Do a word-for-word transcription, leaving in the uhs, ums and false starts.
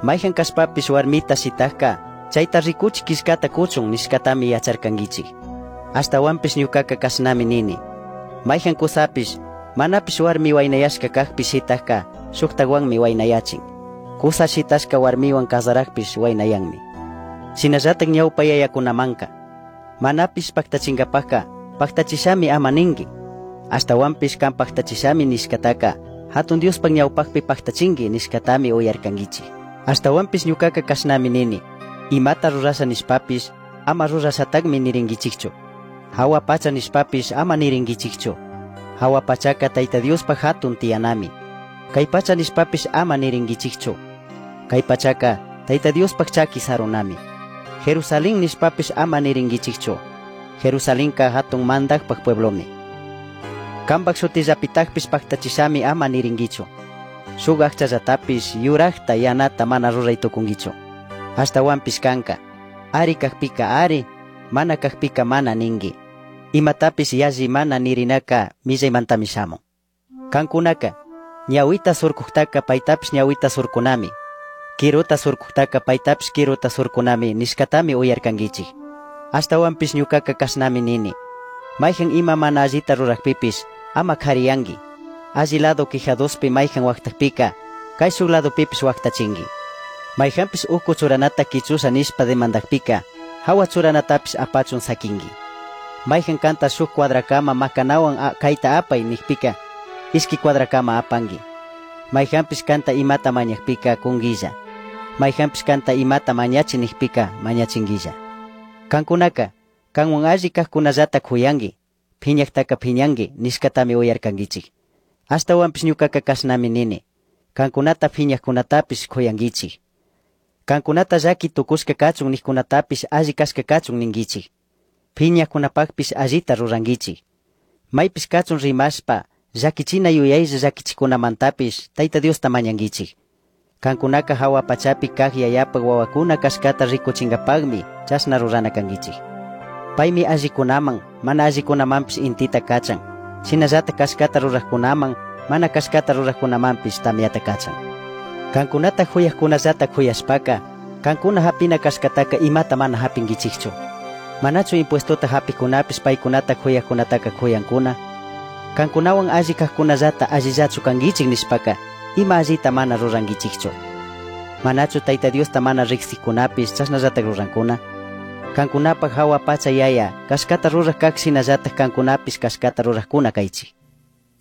Maijan cashpapish huarmita shitajca chaita ricuchi quillcata cuchun nishcatami yacharcanguichij. Ashtahuanpish ñucaca cashnami nini. Maijan cusapish manapish huarmi huainayashca cajpi shitajca shujtahuanmi huainayachin. Cusa shitashca huarmihuan cazarajpish huainayanmi. Shinallataj ñawpa yayakunamanka manapish pactachingapajka pactachishami ama ningui. Ashtahuanpish can pactachishami nishcataca hatun Diospaj ñawpajpi pactachingui nishcatami uyarcanguichij. Ashtahuanpish ñucaca cashnami nini. Imata rurasha nishpapish ama rurashatajmi niringuichijchu. Jahua pacha nishpapish ama niringuichijchu. Jahua pachaca Tayta Diospaj hatun tiyanami. Cai pacha nishpapish ama niringuichijchu. Cai pachaca Tayta Diospaj chaqui sarunami. Jerusalén nishpapish ama niringuichijchu. Jerusalenca hatun mandajpaj pueblomi. Cambaj shutillapitajpish pactachishami ama niringuichu. Shuk ajchallatapish yurajta yanata mana rurai tucunguichu. Ashtahuanpish canca, ari cajpica ari, mana cajpica mana ningui. Imatapish yalli mana nirinaca millaimantami shamun. Cancunaca, ñahuita surcujtaca paitapish ñahuita surcunami. Quiruta surcujtaca paitapish quiruta surcunami nishcatami uyarcanguichij. Ashtahuanpish ñucaca cashnami nini. Maijan ima mana allita rurajpipish ama jariyangui. Alli lado quijadospi maijan huajtajpica, caishuj ladopipish huajtachingui. Maijanpish ucu churanata quichusha nishpa demandajpica, jahua churanatapish apachun saquingui. Maijan canta shuj cuadracama macanahuan caita apai nijpica, ishqui cuadracama apangui. Maijanpish canta imata mañajpica cunguilla. Maijanpish canta imata mañachi nijpica mañachinguilla. Cancunaca, canhuan alli cajcunallata cuyangui, phiñajtaca phiñangui nishcatami uyarcanguichij. Ashtahuanpish ñucaca cashnami nini. Cancunata phiñajcunatapish cuyanguichij. Cancunata llaqui tucushca cachun nijcunatapish alli cashca cachun ninguichij. Phiñajcunapajpish allita ruranguichij. Maipish cachun rimashpa llaquichina yuyaylla llaquichicunamantapish Tayta Diosta mañanguichij. Cancunaca jahua pachapi caj yayapaj wawacuna cashcata ricuchingapajmi chashna rurana canguichij. Paimi allikunaman, mana allikunamanpish intita cachan. Shinallata cashcata rurajcunaman, mana cashcata rurajcunamanpish tamyata cachan. Cancunata juyajcunallata juyashpaca, cancuna japina cashcataca imata mana japinguichijchu. Manachu impuestota japijcunapish paicunata juyajcunataca juyancuna. Cancunahuan alli cajcunallata allillachu canguichij nishpaca, ima allita mana ruranguichijchu. Manachu Tayta Diosta mana rijsijcunapish chashnallataj rurancuna. Cancunapaj jahua pacha yaya, cashcata ruraj caj shinallataj cancunapish cashcata rurajcuna caichij.